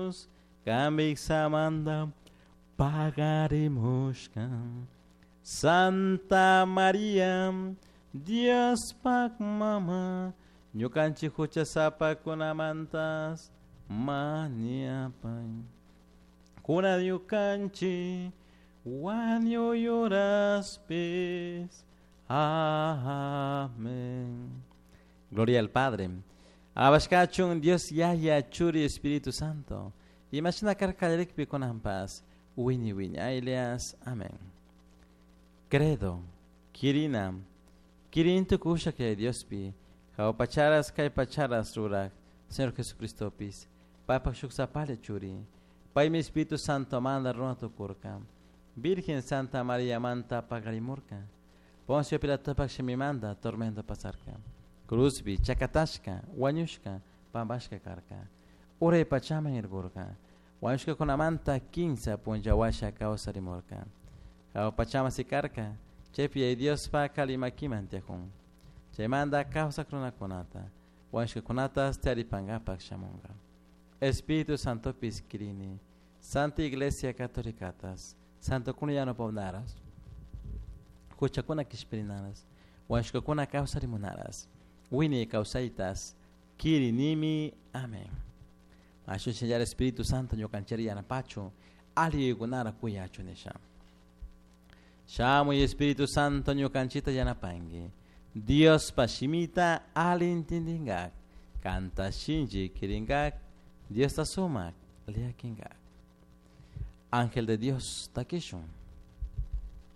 Jesús, Kambik samanda pagarimushka. Santa María, Diospak mama, ñukanchik huchasapakunamantas mañapay. Kuna ñukanchik wañuy horaspis. Amén. Gloria al Padre. Alabashkachun Dios Yaya Churi Espíritu Santo. Imashina karka kallarikpi kunanpas. Wiñay wiñaylias. Amén. Credo. Kirina. Kirin tukusha kay Diospi. Jahua pacharas kay pacharas rurak. Señor Jesucristopis. Paypak shuk sapalla churi. Paymi Espíritu Santo manda runa tukurka. Virgen Santa María manta pagarimurka. Poncio Pilatopak shimimanta tormento pasarka. Cruzpi chakatashka, wañushka, pampashka karka. Uray pachaman irkurka. Wañushkakunamanta kinsa punlla washa kawsarimurka. Jahua pachaman sikarka. Chaypi Yaya Diospak ali makiman tiyakun. Chaymanta kawsak runakunata, wañushkakunatas taripankapak shamunka. Espíritu Santopis kirini, Santa Iglesia Católicatas, Santokuna yanapawnaras, huchakuna kishpirinaras, wañushkakuna kawsarimunaras, wiñay kawsaytas, kirinimi. Amén. Ashun Espíritu Santo ñukanchiri yanapachu, ali yuyaykunara kuyachu nisha. Shamuy Espíritu Santo ñukanchita yanapanki. Diospa shimita ali intindingak, kanta shinchi kiringak, Diosta sumak liakinkak. Ángel de Dios, takishun.